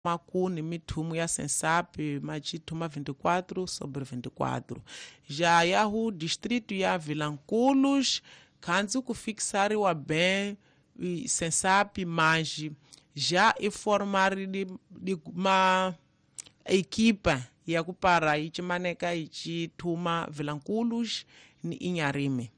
Makuni mithumu ya Sensap machithuma 24 sobre 24 já yahu distrito ya Vilanculos khanzi kufixariwa bem Sensap mas já e formar de uma equipa ya kupara ichimaneka ichithuma Vilanculos ni Inharime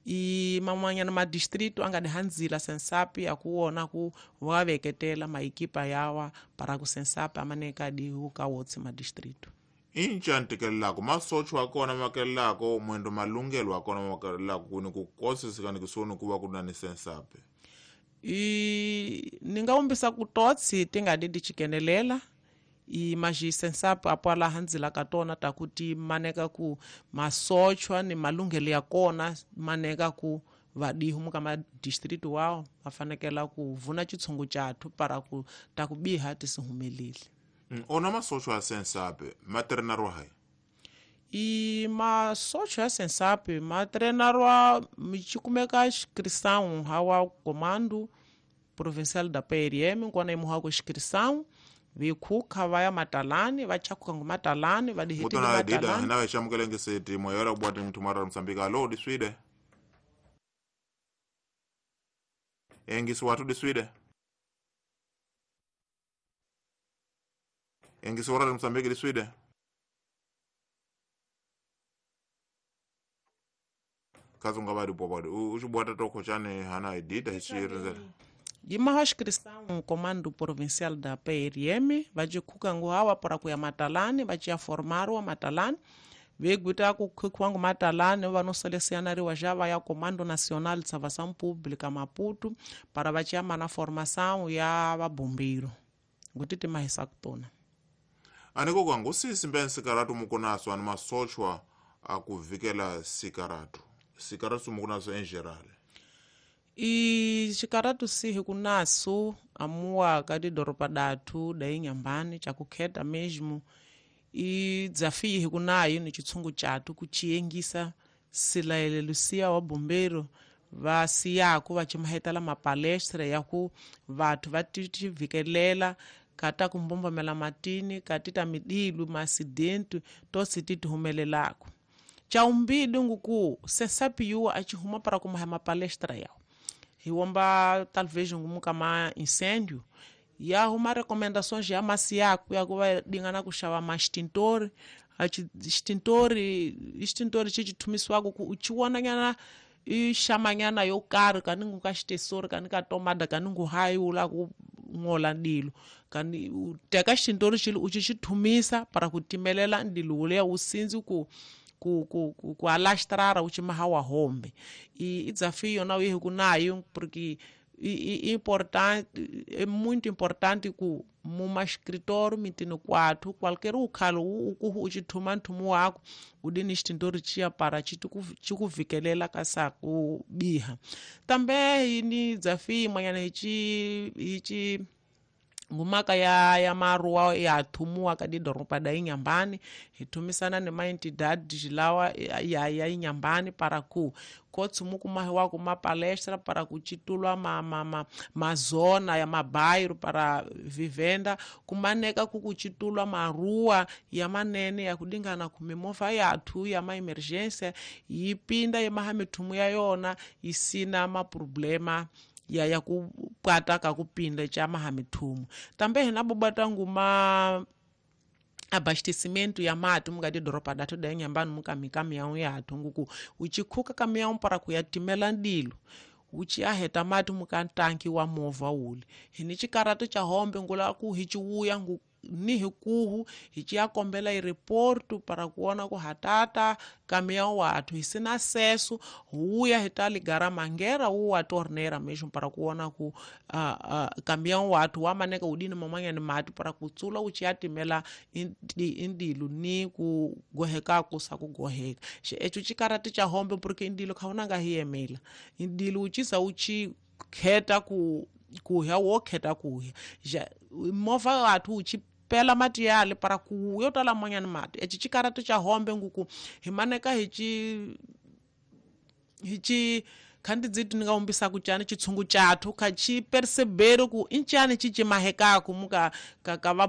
i man'wanyana madistrito a nga dihandzila Sensap ya kuwona ku va veketela maekipa yawa para ku Sensap amaneka dihu ka wotse madistrito inca ntikelelako masocho wa kona makelelako mwendo malungelo wa kona makelelako kuni kukoseseka ni kusoni kuva ku na ni Sensap i ni nga umbisa ku totsi ti nga di di chikenelela i maxi Sensap apo laha ndzila ka tona ta ku ti maneka ku masochwa ni malunghelo ya kona maneka ku vadihu muka madistrito wao va fanekela ku vuna chitshungu chathu para ku ta ku biha ti si humeleli. Ona masochwa ya Sensap ma trenariwa hayi? I masochwa ya Sensap ma trenariwa michikumeka inscrição hawa comando provincial da PRM nkona imuhako inscrição vikhuka va ya matalani va chakuka ngo matalani va dihetile matalani na xamukele ngeseti moyora kubwati mthumara wa Mozambique alo diswide engisi watu diswide engisi wara Mozambique diswide kazunga badi popadi uchibwata toko chane hana idida hichirinzela Yimaha inscrição comando provincial da PRM vajikhuka ngo hawa para kuya matalani vachiya formarwa matalani veguita kukhukiwa ngo matalani vanoselecianariwa já vaya comando nacional de salvação pública Maputo para vachiya mana formação ya vabombiro nguti timahisa kutona aniko kwangu sisi mbeni sikaratu mukunaso ani masochwa akuvikela sikaratu sikaratu mukunaso em geral I xikaratu sihi kunaso amuwa ka tidoropa datu da Inhambane chakukheta mesmo i desafio hi kunayo ni chitshungu chatu kuchiengisa silaelelo siya wa bombero va siyaku va chimahetela mapalestra ya ku vathu va tivikelela kata ku mbombomela matini katita midilu maacidente tosi ti humelelako chaumbidi nguku Sensap yuwa achihuma para kumaha mapalestra yawo hiwomba talvez ngumuka ma incêndio e arrumar recomendações ya masiaco ya kuva dingana kuxava ma extintor extintor chichithumiswako ku uchiwonanyana i xamanyana yo karhi kaningu ka xitesori kani ka tomada kaningu hayi ula ku ngola ndilo kani u teka extintor xili u xithumisa para ku timelela ndilo wuleya wu sindzi ku ku alastrara uchimaha wa hombe i desafio na uye kunayo porque importante é muito importante ku muma escritório mitino quatro qualquer ukhalo ukuhu uchithuma nthumu wako udini extintor chia para chikuvikelela ka saku biha também ni desafio manyana hichi ngumaka ya maruwa ya thumuwa ka didoropa da Inhambane hithumisana ni maentidade lawa ya Inhambane para ku kotsumu kumahiwa kuma palestra para kuchitulwa mazona ya mabairo para vivenda kumaneka kukuchitulwa maruwa ya manene ya kudingana kumimova yathu ya maemergência yipinda yemaha mithumu ya yona isina maproblema ya kupata kakupinda cha mahamithumu tambe hina bobata nguma abastecimento ya mati mukati doropa datu da Inhambane mukamikamiyawu yathu nguku uchikhuka kamiyawu para kuyatimela ndilo uchiaheta mati mukantanki wa movha wuli hini chikarato cha hombe ngula ku hichiwuya ngu ni hikuhu hichiyakombela ireportu para kuona ku hatata kamiyawu wathu hisina acesso huya hitaligara mangera uwa torneira mesmo para kuona ku kamiyawu wathu wamaneka udini mamanyani mati para kutsula uchiyatimela indilu ni kugoheka kusa kugoheka echo chikarati cha hombe porque indilo khaunanga hiyemela indilu uchisa uchikheta ku kuhya wokheta kuhya movha wathu uchipela mati yale para ku yo tala manyani mati echi chikarati cha hombe nguku himaneka hichi khandi dzitu ni nga umbisa kuchani chitshungu chathu kha chi percebere ku inchani chichimahekaku muka ka va